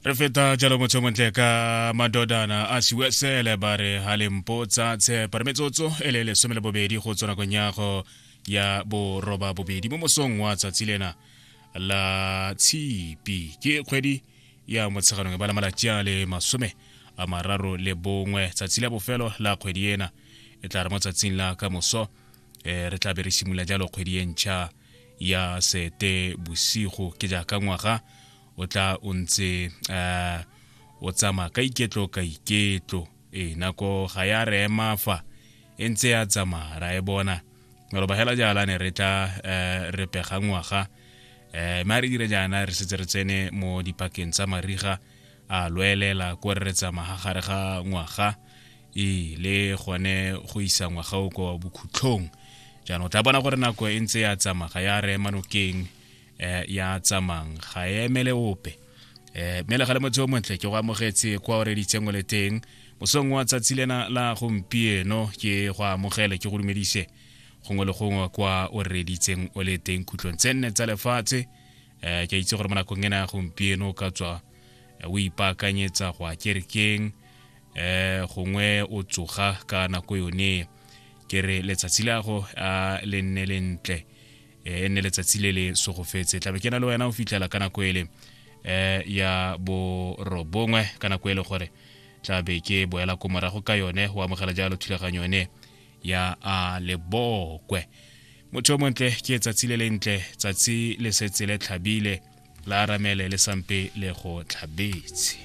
Re feta jalo motho montle ka madodana a siwesele ba re ha lempotsa tshepa re metsotso e le 12 go tswa nakong ya go ya boroba bobedi mo mosong wa tsatsi lena la tshipi. Ke kgwedi ya Motsheganong e bala malatsi a le 31, tsatsi la bofelo la kgwedi ena. E tla re mo tsatsing la ka moso re tla be re simolola jalo kgwedi e ntšha ya Sete Bosigo. Ke jaaka ngwaga o tla o ntse o tsamaya ka iketlo ka iketlo. E nako ga ya re ema fa e ntse ya tsamaya, ra e bona maloba hela jaana ne re tla re pega ngwaga, mme a re dire jaana re setse re tsene mo dipakeng tsa mariga a loelela ko re tsamaya gare ga ngwaga e le gone go isa ngwaga o kwa bokhutlhong. Jaanong o tla bona gore nako e ntse ya tsamaya, ga ya re ema nokeng, ya tsamang ga e emele ope. Mme le ga le motse o montle, ke go amogetse kwa o reditseng o le teng mosong wa tsatsi lena la gompieno. Ke go amogele, ke go dumedise gongwe le gongwe kwa o reditseng o le teng khutlong tse nne tsa lefatshe. Ke itse gore mo nakong ena ya gompieno o ka tswa o ipaakanyetsa go ya kerekeng, gongwe o tsoga ka nako yone. Ke re letsatsi la go a le nne lentle, e nne letsatsi le le sogofetse. Tlabe ke na le wena o fitlhela ka nako ele ya 9, ka nako ele gore tlabe ke boela ko morago ka yone go amogela jalo thulaganyo yone ya a lebokwe. Motho o montle, ke tsatsi le lentle, tsatsi le setse le tlhabile, la aramele le sampe le go tlhabetse.